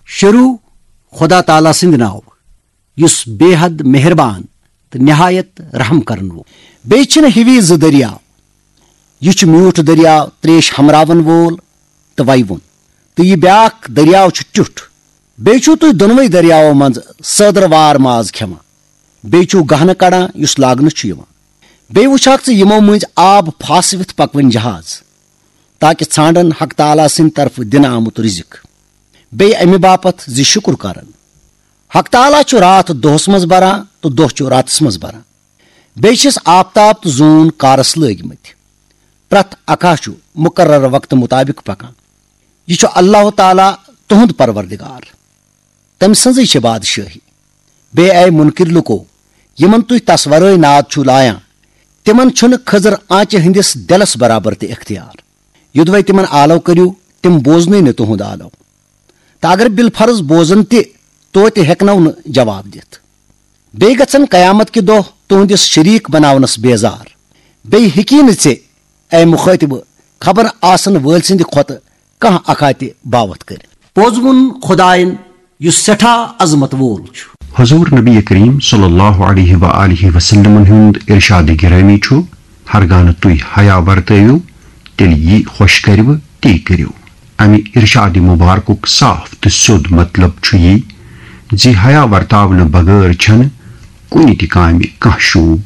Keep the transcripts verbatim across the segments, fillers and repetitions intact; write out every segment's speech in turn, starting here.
شروع خدا تعالیٰ سٕنٛدِ ناوٕ، یُس بے حد مہربان تہٕ نہایت رحم کرن وول۔ بیٚیہِ چھِنہٕ ہِوی زٕ دٔریاو۔ یہِ چھُ میوٗٹھ دٔریاو، ترٛیش ہمراون وول تہٕ ویوُن، تہٕ یہِ بیٛاکھ دٔریاو چھُ ٹیُٹھ۔ بیٚیہِ چھِو تُہۍ دۄنوَے دٔریاوو منٛزٕ سٲدرٕ وار ماز کھٮ۪وان۔ بیٚیہِ چھِو گہنہٕ کڑان، یُس لاگنہٕ چھُ یِوان۔ بیٚیہِ وٕچھکھ ژٕ یِمو مٔنٛزۍ آب پھاسوِتھ پکوٕنۍ جہاز، تاکہ ژھانڈن حق تعالیٰ سٕنٛدِ طرفہٕ دِنہٕ آمُت رزق۔ بیٚیہِ امہِ باپتھ زِ شُکر کرن۔ حق تعالیٰ چھُ راتھ دۄہس منٛز بران تہٕ دۄہ چھُ راتس منٛز بران۔ بیٚیہِ چھِس آفتاب تہٕ زوٗن کارس لٲگۍ مٕتۍ۔ پرٛٮ۪تھ اکھا چھُ مُقرر وقتہٕ مُطابق پکان۔ یہِ چھُ اللہ تعالیٰ تُہُنٛد پروردگار۔ تٔمۍ سٕنٛزٕے چھِ بادشٲہی۔ بیٚیہِ اے مُنکِر لُکو، یِمن تُہۍ تس ورٲے ناد چھِو لایان، تِمن چھُنہٕ خٔزٕر آنچہِ ہٕنٛدِس دِلس برابر تہِ اختیار۔ یوٚدوَے تِمن آلو کٔرِو، تِم بوزنٕے نہٕ تُہُنٛد آلو۔ تہٕ اگر بالفرض بوزن تہِ، توتہِ ہٮ۪کنو نہٕ جواب دِتھ۔ بیٚیہِ گژھن قیامت کہِ دۄہ تُہُنٛدِس شریٖک بناونس بیزار۔ بیٚیہِ ہیٚکی نہٕ ژےٚ، اے مُخٲطِبہٕ، خبر آسن وٲلۍ سٕنٛدِ کھۄتہٕ کانٛہہ اکھا تہِ باوتھ کٔرِتھ۔ پوٚز ووٚن خۄدایَن، یُس سٮ۪ٹھاہ عظمت وول چھُ۔ حضور نبی کریم صلی اللہ علیہ و آلہ وسلمن ہُنٛد ارشاد گرامی چھُ، ہرگاہ نہٕ تُہۍ حیا ورتٲوِو، تیٚلہِ یی خۄش کرِوٕ، تی کٔرِو۔ امہِ ارشاد مبارکُک صاف تہٕ سیوٚد مطلب چھُ یی زِ حیا ورتاونہٕ بغٲر چھنہٕ کُنہِ تہِ کامہِ کانٛہہ شوٗب۔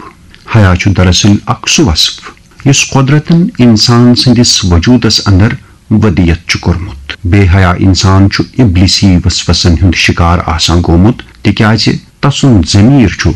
حیا چھُ دراصل اکھ سُہ وصف یُس قۄدرتن انسان سٕنٛدِس وجوٗدس اندر ودیت چھُ کوٚرمُت۔ بے حیا انسان چھُ ابلیسی وسوسن ہُنٛد شکار آسان گوٚمُت، تِکیازِ تسُنٛد ضمیر چھُ